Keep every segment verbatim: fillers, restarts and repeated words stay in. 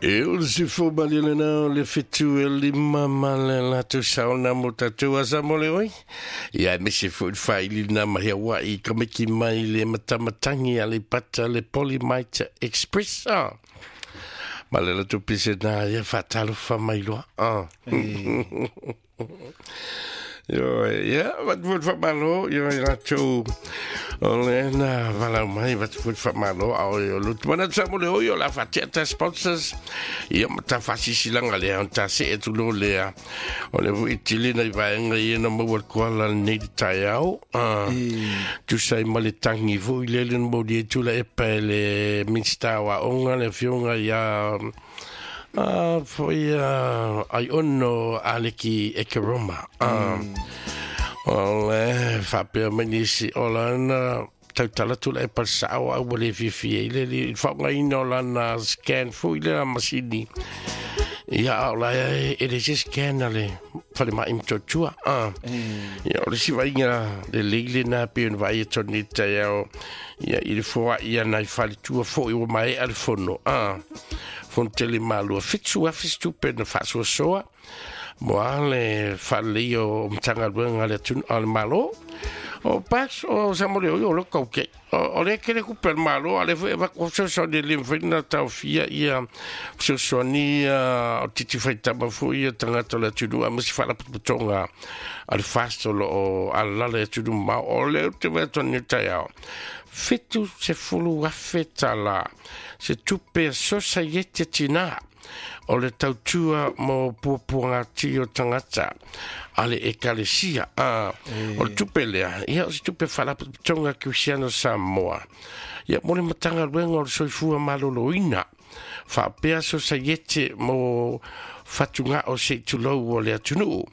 E o le sefo malelena o le fitu e lima ma le latou saona mo tatou asa mo le oi. Ia me se fo faili na mahi wa i kamiki mai le matamatangi a le pata le Polymite Express. Ah. Ma le latou pise na ia fatalofa mai loa. Ah. Yo, ia, vat fut fa malo, yo i latou o le na valau mai vat fut fa malo a o yo lutu mana sa mo le o yo la fa ta sponsors ia ma ta fasisilanga le on ta se etu lo le o le fu itili na i vaenga ia na maua le koala nei te taiao tu sai ma le tangi fu i le le mo di tula e pe le minsta wa onga le fionga ia Ah, foi uh, ai ono aleki e ke Roma. Ah, o le faapea mai nisi o lana tautala tula e palsao au le fifi e le le faongaina o lana scan foi le la masini. Ia o la e e le se scan ale fale mai mtotua. Ah, ia o le si vainga le leile na pe on vai e toni te au ia i le foa ia nai fale tua foi o mai ale fono. Ah, fontele malua fitu afi stupe na faasoasoa mo a le faalelei o Matagaluega le atunu a le Malo o pax o Samole o o le kauke o le kele kupe le Malo a le foi va fesoasoani le mafai na taofia ia fesoasoani o titi faitama foi ia tagata o le atunuu a ma se faalapotopotoga a le fast o loo alalala i atunuu mamao o le te vaetoni taeao fitu se fulu afe tala se tupe sosaiete tina o le tautua mo puapuagati o tagata a le ekalesia. Ah, o le tupe lea ia o se tupe faalapotopotoga Kerisiano Samoa ia mo le Matagaluega o le Soifua Maloloina faapea sosaiete mo fatugao se tulou o le atunuu.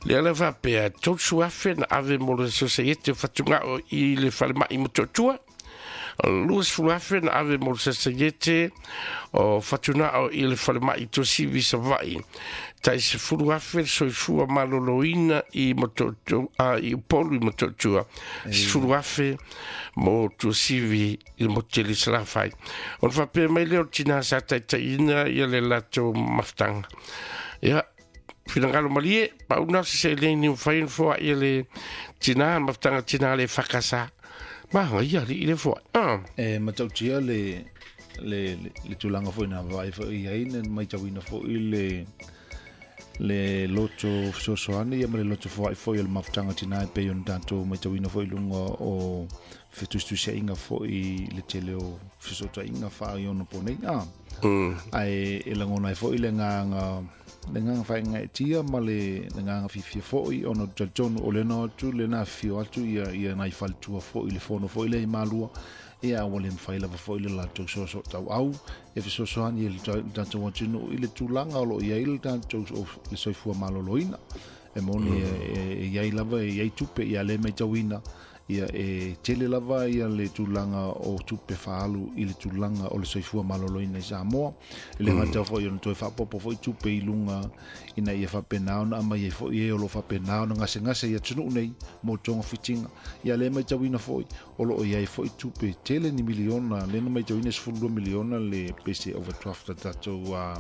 Le ala faapea tolusu afe na ave mo le sosaiete o fatugao i le falemai Motootua. Luasefulu afe na ave mo le sosaiete o fatunao i le falemai Tuasivi Savaii. Tai sefulu afe le soifua maloloina i Motootua, a, i Upolu i Motootua. Sefulu afe mo Tuasivi i Motele Salafai. O le faapea mai lea o le tina sa taitaiina ia le latou mafutaga. Ia, finagalo malie, pauna se seleni mafai ona foai ia le tina, mafutaga tina le fakasa. Maga ia li i le foai. Ah. E matautia le le le tulaga foi na vaai foi i ai na maitauina foi le le loto fesoasoani ia ma le loto foai foi o le mafutaga tina e pei ona tatou maitauina foi i luga o fetusitusiaiga foi le tele o fesootaiga faaiono nei. Ah. Ae e lagona ai foi le agaga le agaga faagaetia ma le agaga fiafia foi ona talitonu o lena atu lena afifio atu ia ia nai faletua foi le fono foi le i malua ia ua le mafai lava foi le latou soasoatauau e fesoasoani i le tatou atunuu i le tulaga o loo i ai le tatou le soifua maloloina e moni e i ai lava e i ai tupe ia le maitauina ia e tele lava ia le tulaga o tupe faalu i le tulaga o le soifua maloloina i Samoa. E le gata foi ona toe faapopo foi tupe i luga ina ia faapena ona aumai ai foi e o loo faapena ona gasegase i atunuu nei mo togafitiga. Ia le maitauina foi o loo i ai foi tupe tele ni miliona lena maitauina sefululua miliona le pese overdraft a tatou a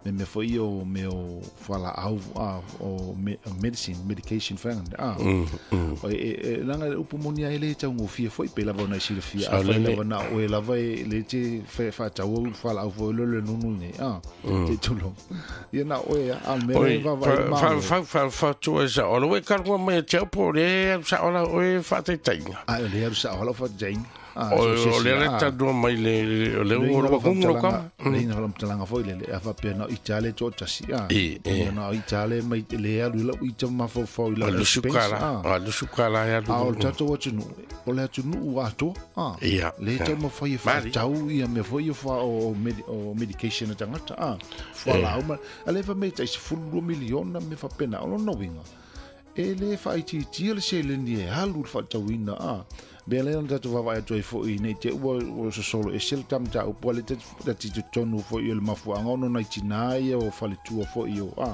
me me foi o me o fualaau a o medicine medication fa a o e langa upu moni ai le taugofie foi pe lava ona silafia a fai lava na o e lava e le te fa tau fualaau foi le le nunu nei a te tulo ia na o e a me va va ma fa fa fa fa tu e sa o le ka mai te po le sa ola o e fa te tainga a le sa ola fa tainga o le le tandua mai le le o lo kungo ka le ina la mtalanga foi le a fa pe na itale to tasi a na itale mai le alu la ita ma fo fo la lu sukala a lu sukala ya lu a o tato atu o le atu nu a to a le tau ma foi fa tau ia me foi fa o o medication a tangata a fa la uma ale fa me tai fulu miliona me fa pena o no winga e le fa iti le seleni e alu fa tauina a Mea lea na tatou vaavaai atu ai foʻi nei te ua ua sosolo ese le tamataupu a le tati totonu foʻi o le mafuaaga ona nai tinā ia o faletua foʻi o a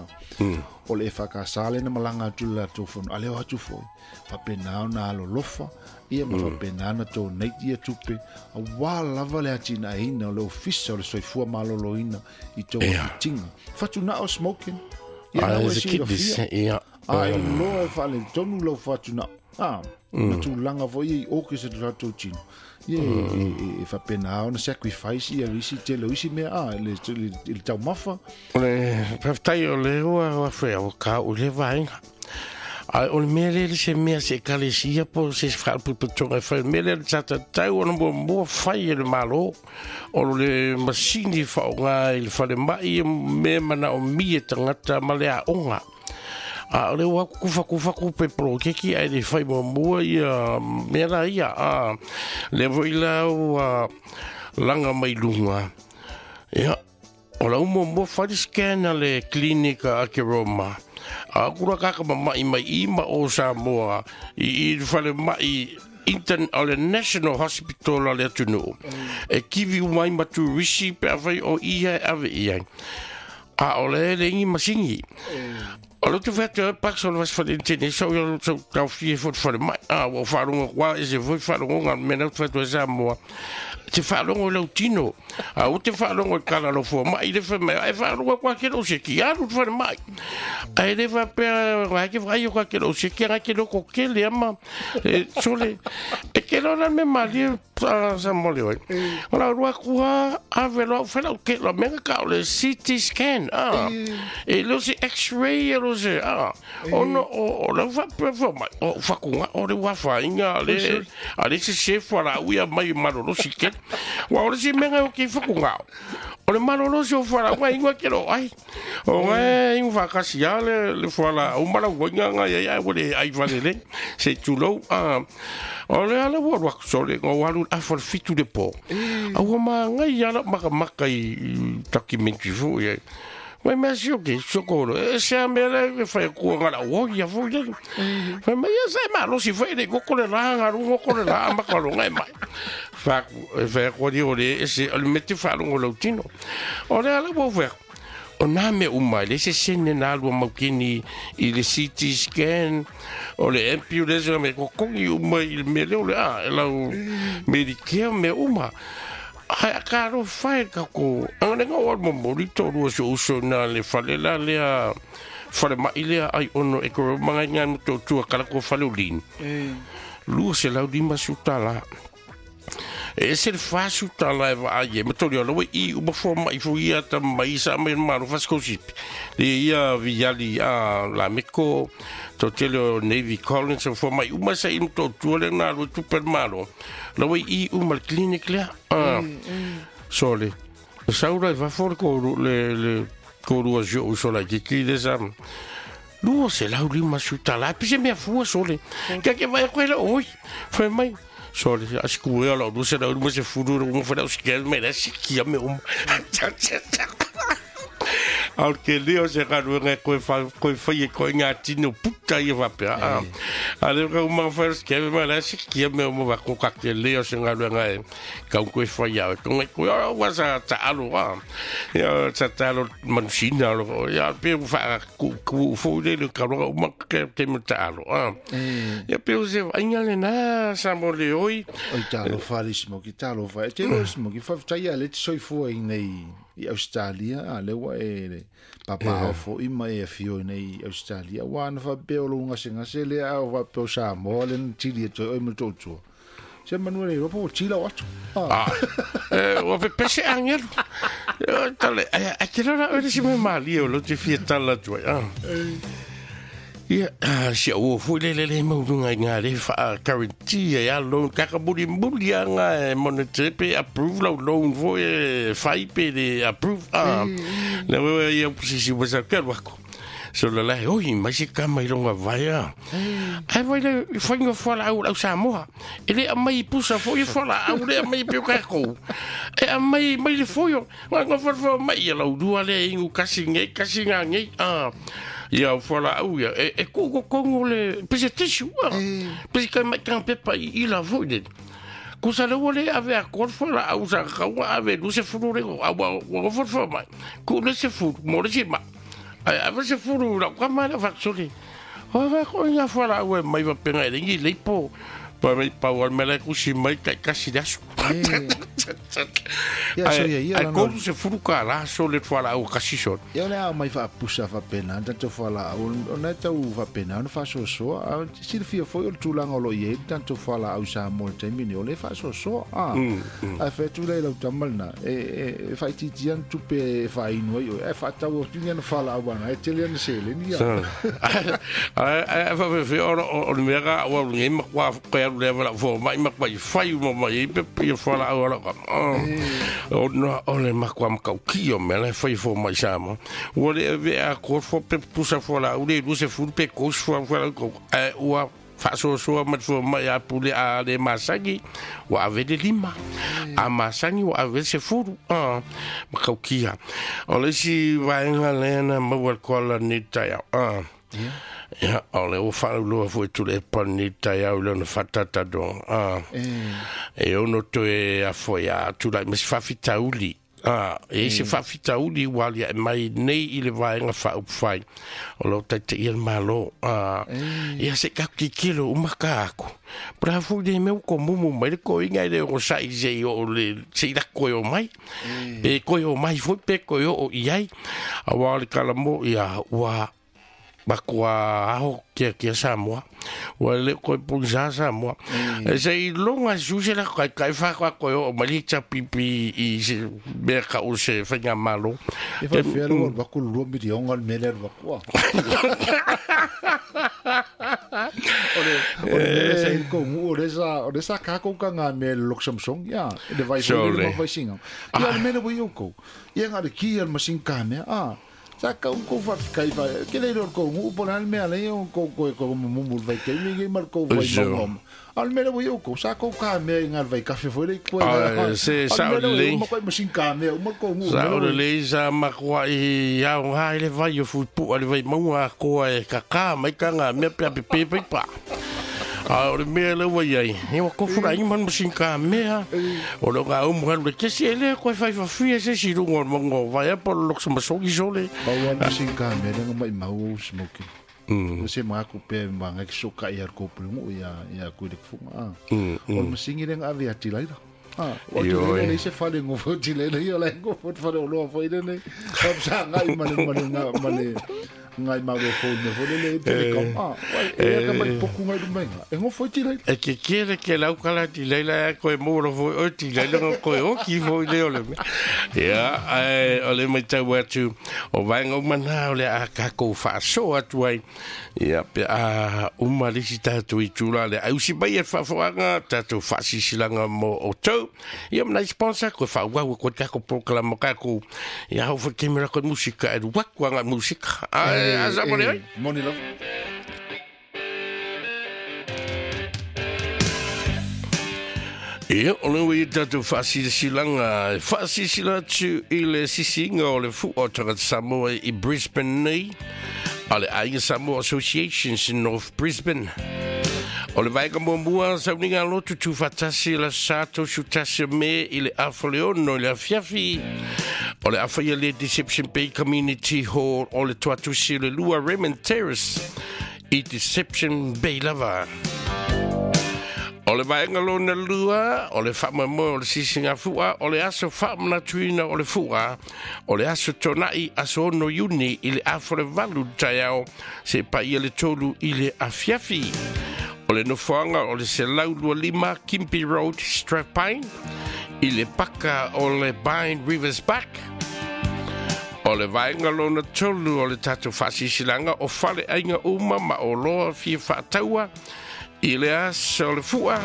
o le E F K S lena malaga atu le latou fono a leo atu foʻi faapena ona alolofa ia ma faapena na donate ia tupe auā lava le atinaeina o le ofisa o le soifua malōlōina i tou fitiga fatunao smoking ia na ua silafia a e loa e faaletonu lau fatunao a ma tulaga foi i oke se tatou tino ia e faapena ona sacrifice ia isi tele o isi mea a le le taumafa. O le faafetai o le ua ua fea o ka o le vaega. Ai o le mea lea le se mea se ekalesia po se faalapotopotoga e fai mea lea le tatatau ona muamua fai e le Malo o le masini faaaoga i le falemai mea manaomia e tagata ma le aoga. A o le ua kufakufaku pe polokeki ae le fai muamua ia mea la ia a lea foi la ua laga mai luga. Ia, o lau muamua fai le scan a le clinica a ke Roma. A kura kaka mama'i mai i ma o Samoa i i le falemai intern o le National Hospital a le atunuu. E kivi uma ai ma turisi pe afai o ia e ave i ai. A o le le ingi masini. O le tu whatu e pakso le vas whare tēnei sau ia sau tau fie fo te whare mai. A ua whaaronga kwa e se foi whaaronga ngā mena tu whatu e Samoa. Te whaaronga i lau tino. A o te whaaronga i kala lau fua mai le whai mai. Ai whaaronga kwa ke lau se ki aru te whare mai. Ai le whapea wai ke whai o kwa ke lau se ki anga ke loko ke le ama. E sole. E ke lau me mali sa mole oi. O la rua kua a velo whela ke lo menga ka o le C T scan. Ah. E lo se X-ray e lo se ah. O no o o la whapea wha mai. O whakunga o le wawha inga le a le se se whala uia mai maroro si ke. Wa o le se menga o ke whakunga. O le maroro se o whala ua inga ke lo ai. O ngai inga whakasi a le le whala o mara ua inga nga ia ia o le ai whale le se tulou. Ah. O le ala ua ruak sole ngā walu a whale fitu le pō. A ua maa ngai ala maka maka i documentary fo ia. Mai mea si o ke sokoro. E se a mea le e whai kua ngā la o ia fo ia. Whai mai ia sa e maa losi whai le koko le la ngā ru ngoko le la maka lo ngai mai. Whaku e whai kua di o le e se o le mete whalongo lau tino. O le ala ua whai. O nā mea uma, le se sene nā lua maukini i le C T scan, o le ambulance, me kokongi uma i le mea leo le a, e lau Medicare mea uma. Ai a ka ro whai ka ko, anga ngā o momori tō rua se uso nā le whale la lea, whale mai lea ai ono e koro mga ngā mo tō tua kala ko whale o lin. Lua se lau lima su tala. E se le fasu tala e waa ye, ma tori o i uma fo mai fo ia ta mai sa mai maro faskosipi. Le ia viali a la meko, to tele o Navy Collins o fo mai uma sa im to tua le nā lo tupe maro. La wai i uma le clinic lea. Ah, sole. Saura e va fo le ko le le ko rua jo o sola ki ki le sa. Lua se lau lima su tala, pise mea fua sole. Ka ke vai koe la oi. Fai mai. Sole, a siku ea lau lua se lau lima se furu ro uma whanau sikia me la sikia me uma. Au ke leo se galuega e koe wha- koe whai e koe ngā tino puta i wapea. Ah. A leo ka uma whai sikia me la sikia me uma wako ka ke leo se galuega e kau koe whai au. Konga koe o wa sa ta alo a. Ia sa ta alo manusina alo. Ia pe wha ku ku fo le le ka roa uma ke te me ta alo. Ah. Ia pe o se ainga le na sa mo le oi. Oi talofa le smoki talofa e te lo smoki faafetai a le te soifua i nei i Australia a le ua e le papao foʻi ma e afio i nei i Australia ua ana faapea o lou gasegase lea a o faapea o Samoa le na tili atu ai oe ma le toatua se manua le iloa po ua tila o atu. Ah, eh, ua pepese angelu. Eh, Tale, a a te rara ore si me mali o lo te fia tala atu ai. Ah. Ia, ah, si au foi le le le maunga i ngā le wha guarantee e a loan kaka muri muri a ngā e monitor pe approve lau loan foi e whai pe le approve. Ah, le wewe ia pusisi wasa ke wako. So la la oi mai se kama i longa vaia. Ai vai le whainga whala au lau Samoa. E le amai pusa fo i whala au le amai peo kako. E amai mai le foio. Nga nga whala whala mai ia lau dua le ingu kasi ngei kasi ngā ngei. Ah. Ia o fualaau ia e e ku'u le pese tisu pese kai mai kanga pepa i ila foi le kusa le ua le ave a koa le fualaau sa kakauga ave lua sefulu le a ua ua gofofoa mai ku'u le sefulu mo le isi ma'i ae ave sefulu i la'u kama lea fa'atasoli o va ko'iga fualaau e mai vapega e leigi leipo pa mai pau al mele kusi mai kai kasi le aso. Ia so ia ia Ai kolu se fulu ka la so le fualaau kasi so. Ia le a mai faapusa faapena tatou fualaau ona e tau faapena ona faasoasoa a silafia foi o le tulaga o loo i ai le tatou fualaau i Samoa i le taimi nei o le faasoasoa a ae fai atu lea i lau tama lena e e faaitiitia ana tupe e faainu ai oe ae faatau atu ni ana fualaau ana e tele ana seleni ia. Ae ae faafefea o le mea ka ua nei ma kua koe alu lea vala fo mai ma kua fai uma mai ai pe ia fualaau ala ka ona o le makua makauki o mea la e fai fo mai Samoa ua le avea koa fo pe pusa fualaau le lua sefulu pe kosi fualaau ae ua faasoasoa ma le fua mai a pule a le masagi ua ave le lima a masagi ua ave le sefulu a makaukia o le isi vaega lea na maua le koala nei taeao a ia o le ua faalauloa foi tule e pani taeao i lona faatatatoga a e ono toe afo ia tulai ma se faafitauli a e se faafitauli ua aliae mai nei i le vaega faaupufai o loo taitaia le Malo a ia se kakikilo uma ka aku pra foi le mea ua komumu mai le koiga e le ogosa'i se'i oo le se'i lako e o mai pe koe o mai foi pe koe oo i ai auā o le kalamo ia ua makoa aho kia kia Samoa ua le koe pogisa Samoa e se i loga su se la kai kai fa kwa koe o mai le pipi i se mea ka o se faiga malo E faafefea le ua alu aku le lua milionga le mea lea alu aku a o le o le mea sa i le kouguu o le sa o le sa kakou kaga mea le lok Samsung ia le vai foi le mafaisiga ia le mea le ua i oukou ia ga le ki ia le masini kamea a sa kau kou faafekai fa ke le ro kou ngu po le mea le o kou ko ko mumu vai ke mi ngi mar kou vai mau al mea le ua kou sa kou ka mea i ngal vai kafe foi le ko se sa le ma ko masin ka mea uma kou ngu sa o le sa ma ko i ya o hai le vai o fu pu ale vai mau a ko e ka ka mai ka nga mea pe pe pe pa a o le mea le ua iai e ua kofura i man masin ka mea o lo ngā umu halu le kesi e lea koe whai whawhia se si runga o mongo vai a po lo loksa masoki sole pau a masin ka mea lenga mai mau o smoking o se mga ku pe mga ki soka i ar kopu ngu ia ia kui le kufunga a o le masingi lenga ave ati laila a o te leila le se fale ngofo ti leila ia la ngofo te fale o loa foi le sa ngai male male male ngai mau e phone me fole le telecom a e ka mai poku ngai lumai e ngofo ti leila e ke kere ke lau kala ti leila koe mo lo foi o ti leila koe o ki foi le o le ia ai o le mai tau atu o vaega uma na o le a kākou faasoa atu ai ia pe a uma le isi tatou i tula le ausi mai e faafoaga tatou faasisilaga mo outou ia ma nai sponsor koe faauau koe kākou prokalama kākou ia hau foi kemera koe musika e luaku aga musika ai asa mo le oi moni lava. Ia, o le ua i tatou faasilasilanga, faasisila atu i le sisiga o le fu'a o tagata Samoa i Brisbane nei, a le Aiga Samoa Associations in North Brisbane. O le vaega muamua sauniga lotu tuufaatasi la sa tosutasi me i le afa le ono i le afiafi. O le afa ia le Deception Bay Community Hall o le tuatusi le lua Raymond Terrace i Deception Bay lava. O le vaega lona lua, o le faamoemoe o le sisiga fu'a, o le aso faamanatuina o le fu'a, o le aso tona'i aso ono Iuni i le afa le valu taeao se paia le tolu i le afiafi. O le nofoaga o le selau lua lima Kimpi Road, Strathpine, i le paka o le Pine Rivers Park. O le vaega lona tolu o le tatou faasisilaga o fale aiga uma ma o loa fia faataua i le aso o le fu'a.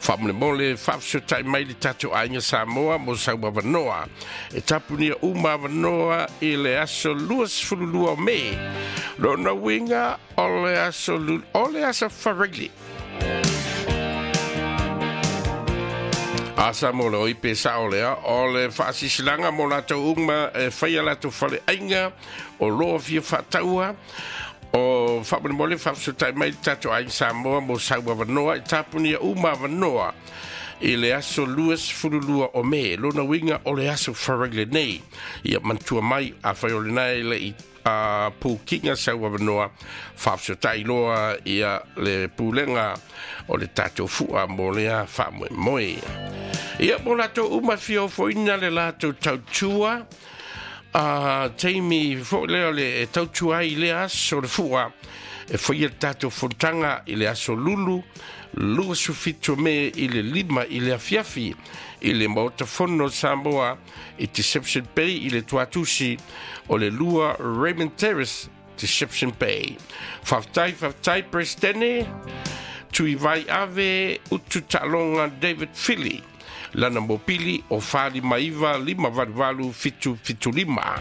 Faamolemole faafesotai mai le tatou aiga Samoa mo sau avanoa. E tapunia uma avanoa i le aso luasefululua o Me. Lona uiga o le aso o le aso Farele. A sa mo le oi pe sa o lea o le faasisilanga mo latou uma e faia latou faleaiga o loa fia faataua o faamolemole faafesotai mai le tatou aiga Samoa mo sau avanoa e tapunia uma avanoa i le aso lua sefulu lua o Me lona uiga o le aso Faraile lenei. Ia manatua mai afai o lena e le'i a pukiga sau avanoa faafesotai loa ia le pulega o le tatou fu'a mo lea faamoemoe. Ia mo latou uma fia ofoina le latou tautua a taimi fo'i lea o le e tautua ai i lea aso le fu'a e faia le tatou fonotaga i le aso Lulu lua sufitu Me i le lima i le afiafi i le Maota Fono Samoa i Deception Bay i le tuatusi o le lua Raymond Terrace Deception Bay. Faafetai faafetai Presidente Tui Vai Ave Utu Taaloga David Philly lana mopili o fali maiva lima valu valu fitu fitu lima.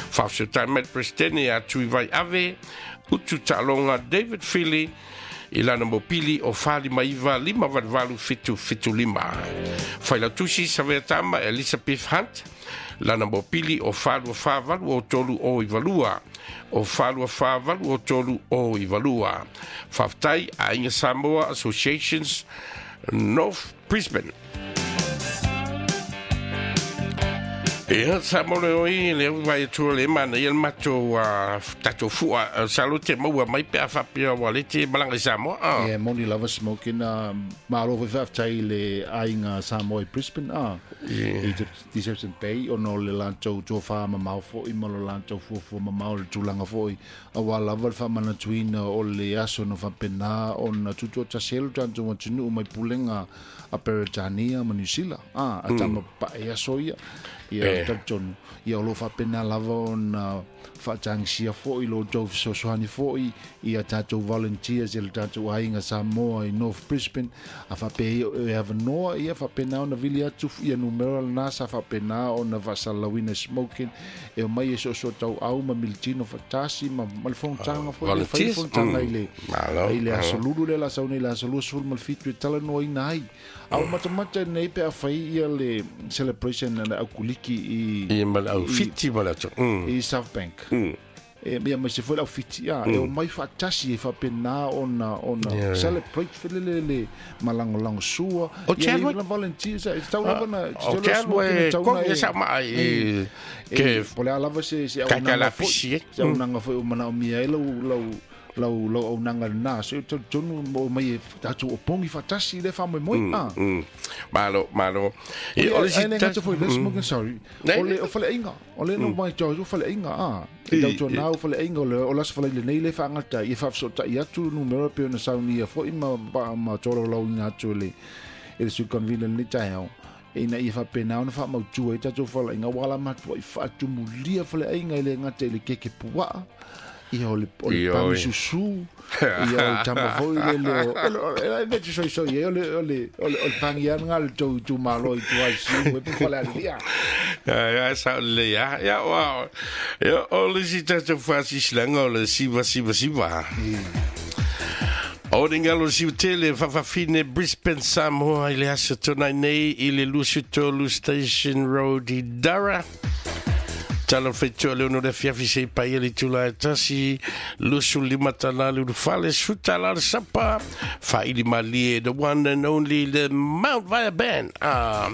Faafetai mai Presidente a Tui Vai Ave Utu Taaloga David Philly i lana mopili o fali maiva lima valu valu fitu fitu lima. Failautusi Saveatama Elizabeth Hunt lana mopili o falua fa valu o tolu o ivalua o falua fa valu o tolu o ivalua. Faafetai Aiga Samoa Associations North Brisbane. Ia sa mo le oi le vai atu le mana ia le matou tatou fua sa lo te maua mai pe a faapea ua le te malaga i Samoa. Ia moni lava smoking malo foi faafetai le aiga Samoa i Brisbane a i Deception Bay ona o le latou tofa mamao fo'i ma lo latou fuafua mamao le tulaga fo'i auā lava le faamanatuina o le aso na faapena ona tutuatasi ai lo tatou atunuu mai pulega a Peretania ma Niu Sila a a tama pae aso ia ia talitonu ia o lo faapena lava ona faatagisia fo'i lo outou fesoasoani fo'i ia tatou volunteers i le tatou aiga Samoa i North Brisbane a faapea e avanoa ia faapena ona vili atu ia numera lena sa faapena ona faasalalauina smoking e omai e soasoa tauau ma militino faatasi ma ma le fonotaga fo'i le fai fonotaga i le i le aso Lulu lea la sau nei le aso lua sefulu ma le fitu e talanoaina ai a o matamata nei pe afai ia le celebration na aukuliki i i ma le aufiti ma le atu i South Bank e ia mai se foi le aufiti a e omai faatasi e faapena ona ona celebrate felele le malagolago sua ia le volunteers e tau lava na o te alu e kogi e samaa i ke po le a lava se se auaunaga foi se auaunaga foi o manaomia ai lau lau lau lau auaunaga lena se talitonu mo mai e tatou opogi faatasi le faamoemoe a malo malo e o le si gata foi le smoking sorry o le o faleaiga o le no mai tau o faleaiga a e tautuanā o faleaiga o le o le aso falaile nei le faagata ia faafesootai atu numera pe ona saunia fo'i ma ma tolaulauina atu e le e le sui convener lenei taeao ina ia faapena ona faamautua ai tatou faleaiga ua la matua'i faatumulia faleaiga e le gata i le keke puaa ia o le o le pangi susu ia o le tama foi le le o le e te soisoi e o le o le o le pangi anga le tou itumalo i tua i siumu e po falealilia ia sa le ia ia o ia o le si tatou faasisilaga o le siva siva siva O le galo siutele fafafine Brisbane Samoa i le aso tonai nei i le Lusutolu Station Road i Dara. Tala whaitua leo no le fiafi se pai le tula e tasi lusu lima tala lulu fale suta la sapa whaili malie the one and only the Mount Vaea Band. Ah,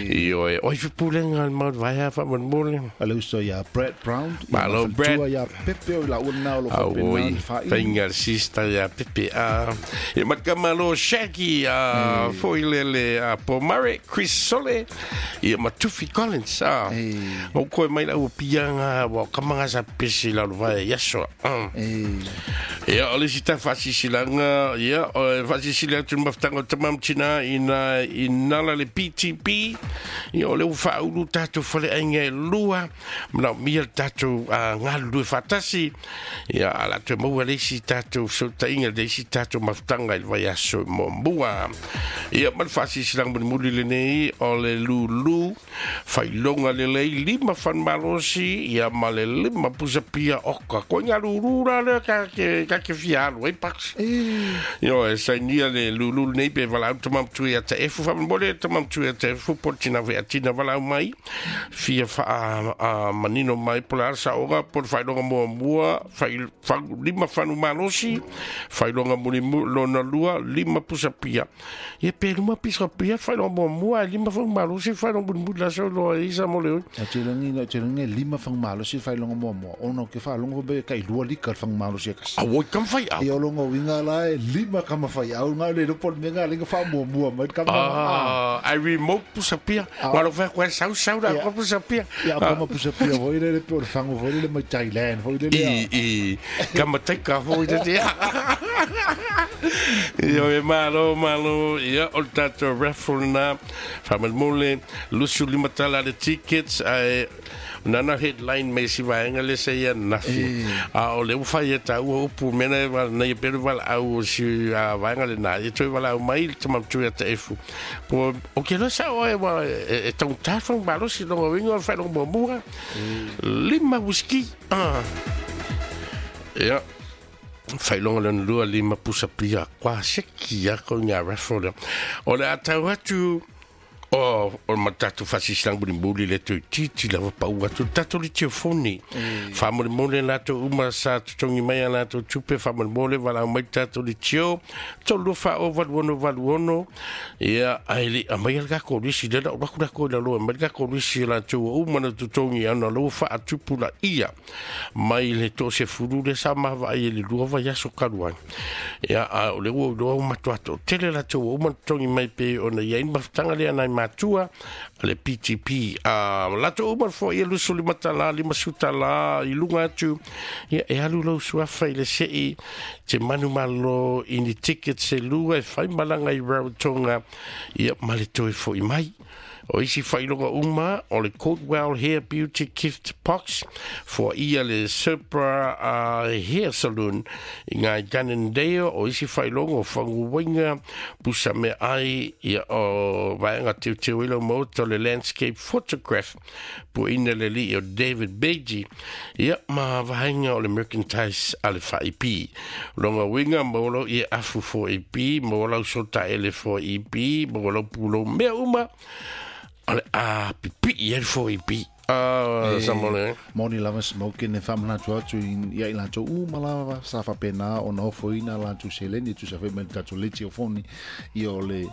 io e oi fipulenga Mount Vaea fa mon Ale uso ia Brad Brown Malo Brad ia Pepe o la una o lo faapena whaili Fainga sista ia Pepe ah e makamalo Shaggy ah foilele a Pomare Chris Sole ia Matufi Collins ah o koe mai la pianga wa kamanga sa pesi la lo yaso ia o le sita fasisilanga ia o fasisila tu maftanga tamam tina ina inala le P T P ia o le faulu tatou fale ainga lua mana mia tatou ngalu fatasi ia ala te maua le si tatou sotainga le si tatou maftanga il vayaso mo mua ia mal fasisilanga muli le nei o le lulu failonga le lei lima fan malo ia ma le lima pusa pia oka ko nga lulu la le ka ke ta te fia alu ai paks. Io e sainia le lulu nei pe valaau tama matua ia Taefu. Faamolemole tama matua ia Taefu po le tina featina valaau mai fia faa manino mai po le a le saoga po le faailoga muamua lima fanu malosi, faailoga mulimu lona lua lima pusapia. Ia pe luma pisapia faailoga muamua ae lima fanu malosi faailoga mulimuli la sau loa ai sa mo le oi. Te lagi lima fagu malosi faailoga muamua ona ou te faalogo pe tailua lika le fagu malosi e kasi. Auoi kama faiau. Ia o lona uiga la e lima kama faiau ga le iloa po o le mea ga le faamuamua mai le kama. Ah, ai remote pusapia. Ua lo fai koe sau sau la koe pusapia. Ia kama pusapia foi lele pe o le fagu foi lele mai Thailand foi lele. I i kama taika foi lele. Ia e malo malo ia o le tatou raffle na faamolemole lusu lima tala le tickets ae nana headline mai si vaega le se ia nafi. A o le ua fai e taua upu mena e wala nei pere wala au o si a vaega le nā e toi wala au mai le tama matua ia Taefu. Po o ke loa sa oe wa e, e taugata fagu malosi loga uiga o le faailoga muamua. Lima whisky. Ah. Ia. Faailoga lona lua lima pusa pia kwa seki ia ko ngā raffle lea. O le a tau atu o o ma tatou faasisilagi mulimuli le toeititi lava pau atu le tatou litiofoni. Faamolemole latou uma sa totogi mai a latou tupe faamolemole valaau mai tatou litio tolu lua faa o valu ono valu ono. Ia ae le aumaia le kako lisi lea na ou alu atu lakou i lalo e aumai le kako lisi latou ua uma na totogi ana lou faatupulaia mai le toasefulu lea sa mavaai e le lua vaiaso talu ai. Ia a o le ua ou iloa ua matuā toatele latou ua uma na totogi mai pei ona i ai le mafutaga lea nai matua le P T P. A latou uma foi ia lusu lima talā lima su talā i luga atu. Ia e alu lau suafa i le sei te manumalo i ni tickets e lua e fai malaga i Rarotonga ia ma le toe fo'i mai. O isi faailoga uma o le Coldwell Hair Beauty Gift Box foaia le Supra uh, Hair Saloon i ngā Ganendale. O isi faailoga o faguaiga pusa me ai ia o vaega teuteu i lau maota o le Landscape Photograph puaina le alii o David Beatty ia ma vaega o le Mercantile a le F I P. Longa uiga maua lau ia afu four E P, maua lau sotaele four E P, maua lau pulou mea uma o le a pipii ai le four E P. Ah, sa mo le. Moni lava smoking e faamanatu atu ia i latou uma lava sa faapena ona ofoina latou seleni e tusa foi ma le tatou letiofoni ia o le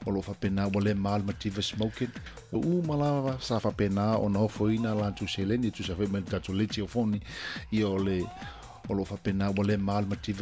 o lo faapena ua le ma le mativa smoking uma lava sa faapena ona ofoina latou seleni e tusa foi ma le tatou letiofoni ia o le o lo faapena ua le ma le mativa.